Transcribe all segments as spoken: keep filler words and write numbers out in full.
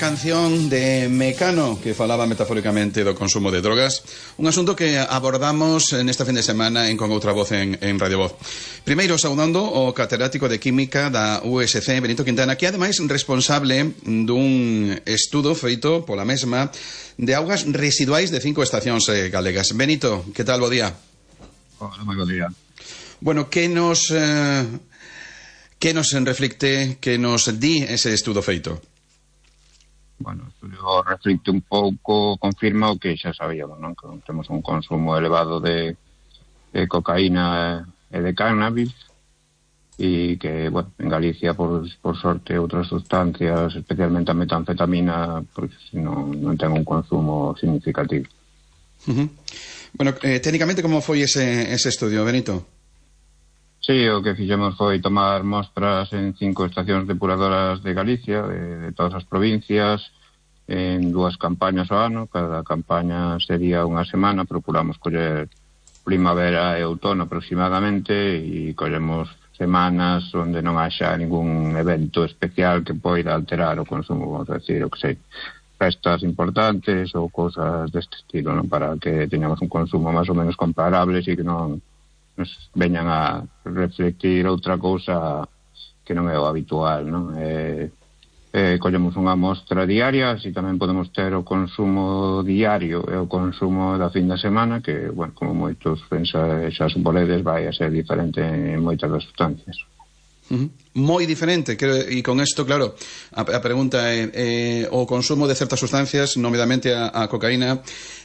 Canción de Mecano, que falaba metafóricamente do consumo de drogas, un asunto que abordamos nesta fin de semana en Con Outra Voz en, en Radio Voz. Primeiro, saudando o catedrático de Química da U S C, Benito Quintana, que é ademais responsable dun estudo feito pola mesma de augas residuais de cinco estacións eh, galegas. Benito, que tal, bo día? Hola, moi bo día. Bueno, que nos eh, que nos reflicte, que nos di ese estudo feito? Bueno, o estudio reflicte un pouco, confirma o que xa sabíamos, non? Que temos un consumo elevado de, de cocaína e de cannabis e que, bueno, en Galicia, por, por sorte, outras sustancias, especialmente a metanfetamina, porque si non, non ten un consumo significativo. Uh-huh. Bueno, eh, técnicamente, como foi ese, ese estudio, Benito? Sí, o que fixemos foi tomar mostras en cinco estacións depuradoras de Galicia, de, de todas as provincias, en dúas campañas ao ano. Cada campaña sería unha semana, procuramos coller primavera e outono aproximadamente, e collemos semanas onde non haxa ningún evento especial que poida alterar o consumo, vamos a decir, o que sei, festas importantes ou cousas deste estilo, non? Para que teñamos un consumo máis ou menos comparables e que non nos veñan a reflectir outra cousa que non é o habitual, non? Eh, eh, collemos unha mostra diaria, así tamén podemos ter o consumo diario e o consumo da fin de semana, que, bueno, como moitos pensa, xa suporedes, vai a ser diferente en moitas das sustancias. Uh-huh. Moi diferente, e con isto, claro, a, a pregunta é eh, o consumo de certas sustancias, nomeadamente a, a cocaína,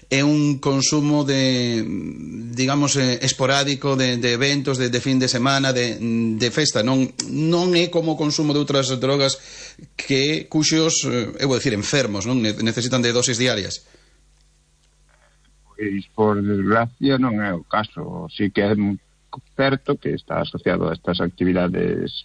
é un consumo de, digamos, eh, esporádico de, de eventos, de, de fin de semana, de, de festa, non non é como o consumo de outras drogas que cuxos, eh, eu vou dicir, enfermos, non necesitan de dosis diarias. Pois, por desgracia, non é o caso. Si que é certo que está asociado a estas actividades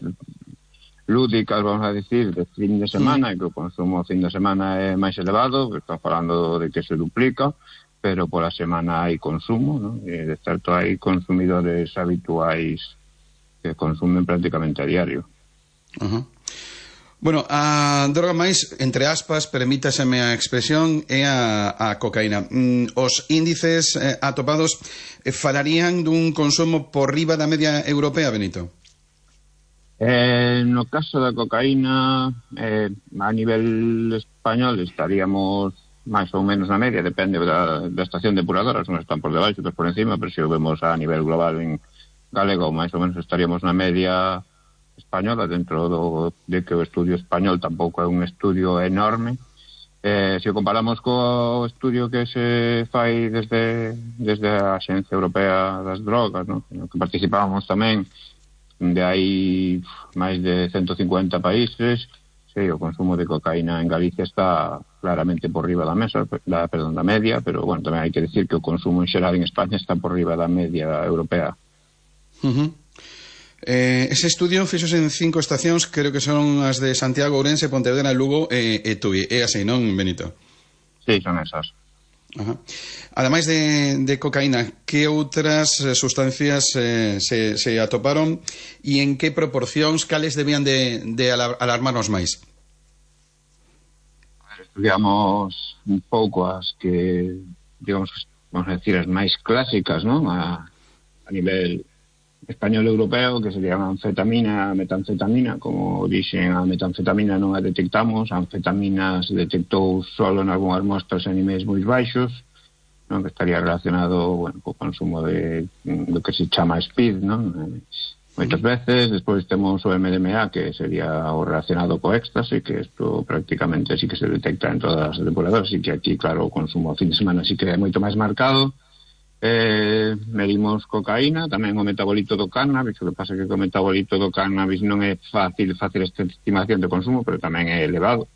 lúdicas, vamos a decir, de fin de semana, mm. e que o consumo fin de semana é máis elevado, que está falando de que se duplica, pero pola semana hai consumo, non? E de certo hai consumidores habituais que consumen prácticamente a diario. Uh-huh. Bueno, a droga máis, entre aspas, permítaseme a expresión, é a, a cocaína. Mm, os índices eh, atopados eh, falarían dun consumo por riba da media europea, Benito? Eh, no caso da cocaína, eh, a nivel español estaríamos máis ou menos na media, depende da, da estación depuradora, son están por debaixo, outros por encima, pero se o vemos a nivel global en galego, máis ou menos estaríamos na media española, dentro do, de que o estudio español tampouco é un estudio enorme. Eh, se o comparamos co estudio que se fai desde, desde a Axencia Europea das Drogas, ¿no? No que participábamos tamén, de hai máis de ciento cincuenta países, sí, o consumo de cocaína en Galicia está claramente por riba da mesa, da, perdón, da media, pero, bueno, tamén hai que decir que o consumo en xeral en España está por riba da media europea. Uh-huh. Eh, ese estudio fixose en cinco estacións, creo que son as de Santiago, Ourense, Pontevedra, Lugo e, e Tui. É así, non, Benito? Sí, son esas. Ajá. Ademais de, de cocaína, que outras sustancias eh, se, se atoparon e en que proporcións, cales debían de, de alarmarnos máis? Estudiamos un pouco as que, digamos, vamos a decir, as máis clásicas, non? A, a nivel español europeo, que serían a anfetamina, a metanfetamina. Como dixen, a metanfetamina non a detectamos, a anfetamina se detectou solo en algunhas mostras a niveis moi baixos, non? Que estaría relacionado, bueno, co consumo de do que se chama speed, non? Eh, moitas veces. Despois temos o M D M A, que sería o relacionado co éxtase, que isto prácticamente sí que se detecta en todas as depuradoras, e que aquí, claro, o consumo a fin de semana sí que é moito máis marcado. Eh, medimos cocaína, tamén o metabolito do cannabis. O que pasa é que o metabolito do cannabis non é fácil facer esta estimación de consumo, pero tamén é elevado.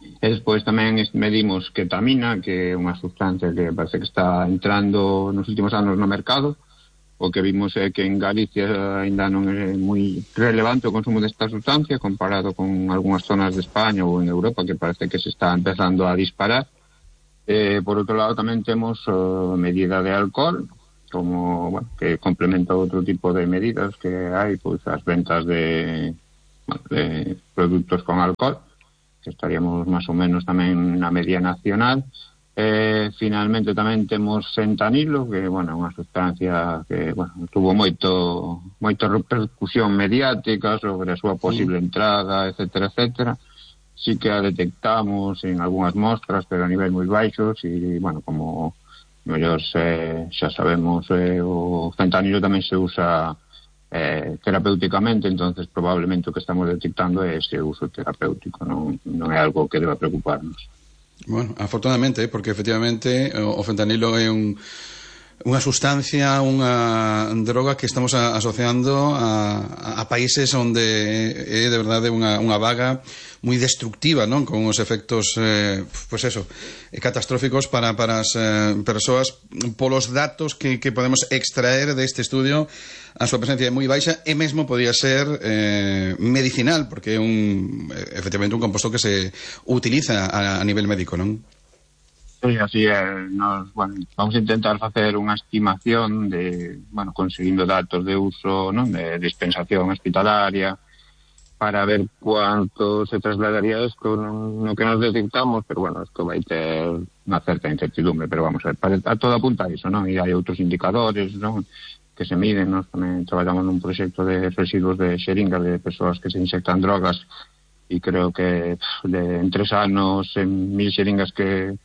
E despois tamén medimos ketamina, que é unha sustancia que parece que está entrando nos últimos anos no mercado. O que vimos é que en Galicia ainda non é moi relevante o consumo desta sustancia comparado con algunhas zonas de España ou en Europa, que parece que se está empezando a disparar. Eh, por outro lado, tamén temos uh, medida de alcohol, como, bueno, que complementa outro tipo de medidas que hai, pois as ventas de, bueno, de produtos con alcohol. que estaríamos máis ou menos tamén na media nacional. Eh, finalmente tamén temos fentanilo, que, bueno, é unha sustancia que, bueno, tuvo moito moita repercusión mediática sobre a súa posible sí. entrada, etcétera, etcétera. Sí que a detectamos en algunhas mostras, pero a nivel moi baixos, e, bueno, como mellor se, xa sabemos, eh, o fentanilo tamén se usa Eh, terapéuticamente, entonces probablemente o que estamos detectando é ese uso terapéutico, non, non é algo que deba preocuparnos. Bueno, afortunadamente, porque efectivamente o fentanilo é un unha sustancia, unha droga que estamos a, asociando a, a países onde é de verdade unha, unha vaga moi destructiva, non? Con os efectos, eh, pues eso, catastróficos para, para as eh, persoas. Polos datos que, que podemos extraer deste estudio, a súa presencia é moi baixa e mesmo podía ser eh, medicinal, porque é un, efectivamente un composto que se utiliza a, a nivel médico, non? Sí, así é. Nos, bueno, vamos a intentar facer unha estimación de, bueno, conseguindo datos de uso, non, de dispensación hospitalaria, para ver cuánto se trasladaría isto no, no que nos detectamos, pero bueno, isto vai ter unha certa incertidumbre, pero vamos a ver, para, a todo apunta a iso, non? E hai outros indicadores, non, que se miden. Nós tamén traballamos nun proxecto de residuos de xeringas de persoas que se inyectan drogas, e creo que de, en tres anos, en mil xeringas que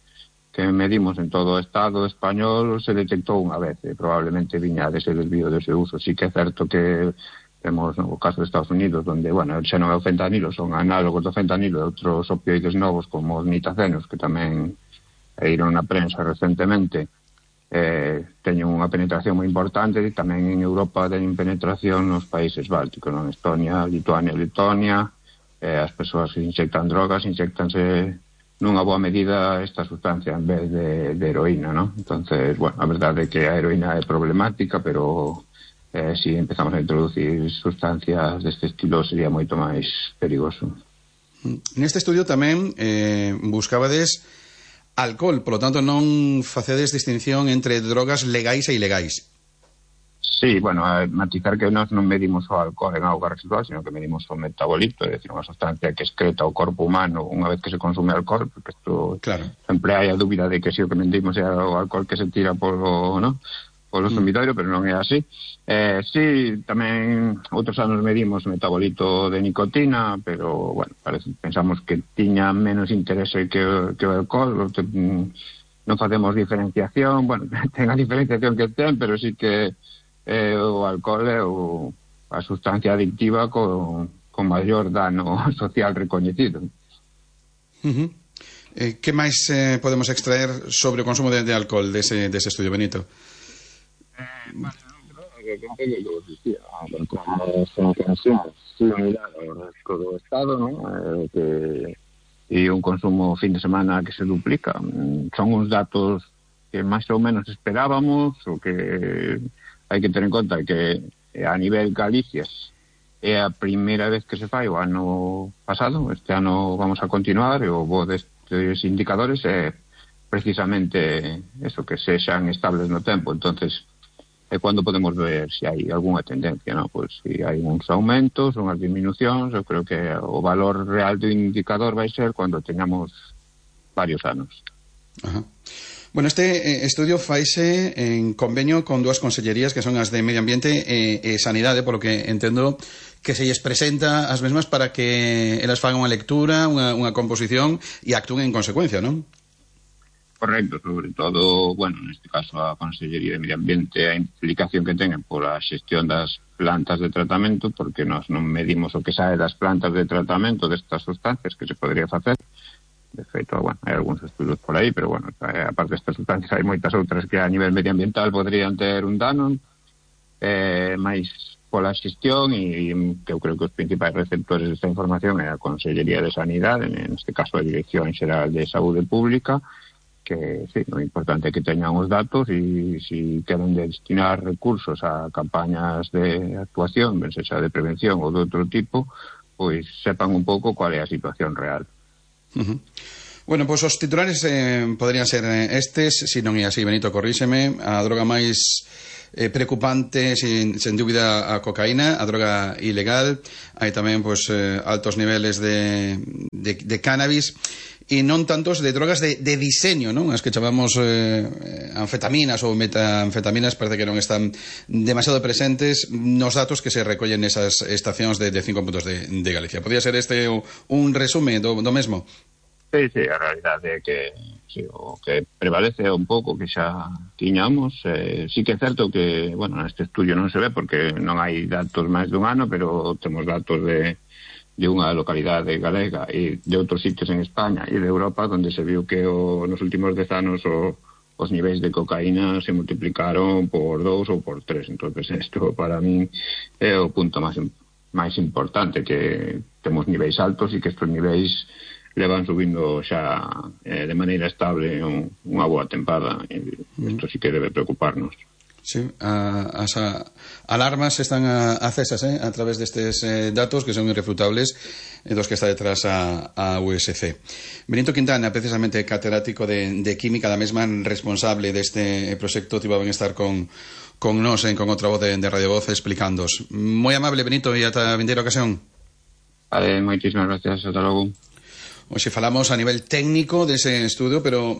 que medimos en todo o Estado español, se detectou unha vez, e probablemente viña dese desvío dese uso. Sí que é certo que temos no caso de Estados Unidos, onde, bueno, xa non é o fentanilo, son análogos do fentanilo e outros opioides novos como os nitacenos, que tamén eiron na prensa recentemente, eh, teñen unha penetración moi importante, e tamén en Europa teñen penetración nos países bálticos, non? Estonia, Lituania, Letonia, eh, as persoas que inyectan drogas, inyectanse nunha boa medida esta sustancia en vez de, de heroína, ¿no? Entonces, bueno, a verdade é que a heroína é problemática, pero eh, si empezamos a introducir sustancias deste estilo sería moito máis perigoso. Neste estudio tamén eh, buscabades alcohol, polo tanto non facedes distinción entre drogas legais e ilegais. Sí, bueno, a matizar que nós non medimos o alcohol en auga residual, sino que medimos o metabolito, é dicir, unha sustancia que excreta o corpo humano unha vez que se consume alcohol, porque isto claro. Sempre hai a dúbida de que si o que medimos é o alcohol que se tira polo, ¿no? polo sumidoiro, mm. pero non é así. Eh, sí, tamén outros anos medimos o metabolito de nicotina, pero, bueno, parece, pensamos que tiña menos interese que, que o alcohol, non facemos diferenciación, bueno, ten a diferenciación que ten, pero sí que Eh, o alcohol é o, a sustancia adictiva con, con maior dano social recoñecido. Uh-huh. Eh, que máis eh, podemos extraer sobre o consumo de, de alcohol dese, dese estudio, Benito? Eh, bueno, que como vos dicía, como son consumos similar ao resto do Estado, ¿no? eh, que, e un consumo fin de semana que se duplica. Son uns datos que máis ou menos esperábamos, o que hai que ter en conta que a nivel Galicia é a primeira vez que se fai o ano pasado. Este ano vamos a continuar, e o bo destes indicadores é precisamente eso, que sexan estables no tempo. Entonces é cando podemos ver se hai algunha tendencia, ¿no? Pois se hai uns aumentos, unhas disminucións. Eu creo que o valor real do indicador vai ser cando teñamos varios anos. Ajá. Bueno, este estudio faise en convenio con dúas consellerías que son as de Medio Ambiente e, e Sanidade, polo que entendo que se lles presenta as mesmas para que elas fagan unha lectura, unha, unha composición e actúen en consecuencia, non? Correcto, sobre todo, bueno, neste caso a Consellería de Medio Ambiente, a implicación que ten pola xestión das plantas de tratamento, porque nós non medimos o que sae das plantas de tratamento destas sustancias que se podría facer. De feito, bueno, hai algúns estudos por aí, pero, bueno, aparte destas sustancias hai moitas outras que a nivel medioambiental podrían ter un dano, eh, máis pola xestión, e que eu creo que os principais receptores desta información é a Consellería de Sanidade, en este caso a Dirección Xeral de Saúde Pública, que, sí, o importante é que teñan os datos, e se queren destinar recursos a campañas de actuación, ben sexa de prevención ou de outro tipo, pois sepan un pouco cual é a situación real. Uh-huh. Bueno, pois pues os titulares eh, podrían ser estes, se non é así, Benito, corríxeme. A droga máis eh, preocupante, sin, sin dúbida, a cocaína, a droga ilegal. Hai tamén pues, eh, altos niveles de, de, de cannabis e non tantos de drogas de, de diseño, non? As que chamamos eh, anfetaminas ou metanfetaminas parece que non están demasiado presentes nos datos que se recollen nesas estacións de, de cinco puntos de, de Galicia. Podría ser este un resume do, do mesmo? Sí, sí, a realidade é que sí, o que prevalece un pouco que xa tiñamos. Eh, sí que é certo que, bueno, neste estudio non se ve porque non hai datos máis dun ano, pero temos datos de, de unha localidade galega e de outros sitios en España e de Europa onde se viu que o, nos últimos dez anos o, os niveis de cocaína se multiplicaron por dous ou por tres. Entonces, isto para mí é o punto máis, máis importante, que temos niveis altos e que estes niveis levan subindo xa eh, de maneira estable un, unha boa tempada. Isto sí que debe preocuparnos. Sí, a, as a, alarmas están a, acesas eh, a través destes eh, datos que son irrefutables e dos que está detrás a, a U S C. Benito Quintana, precisamente catedrático de, de Química, da mesma responsable deste proxecto, tivo ben estar con, con nos, en, con outra voz de, de Radio Voz, explicándos. Moi amable, Benito, e ata a vindeira ocasión. Vale, moitísimas gracias, ata logo. Hoxe falamos a nivel técnico dese estudo, pero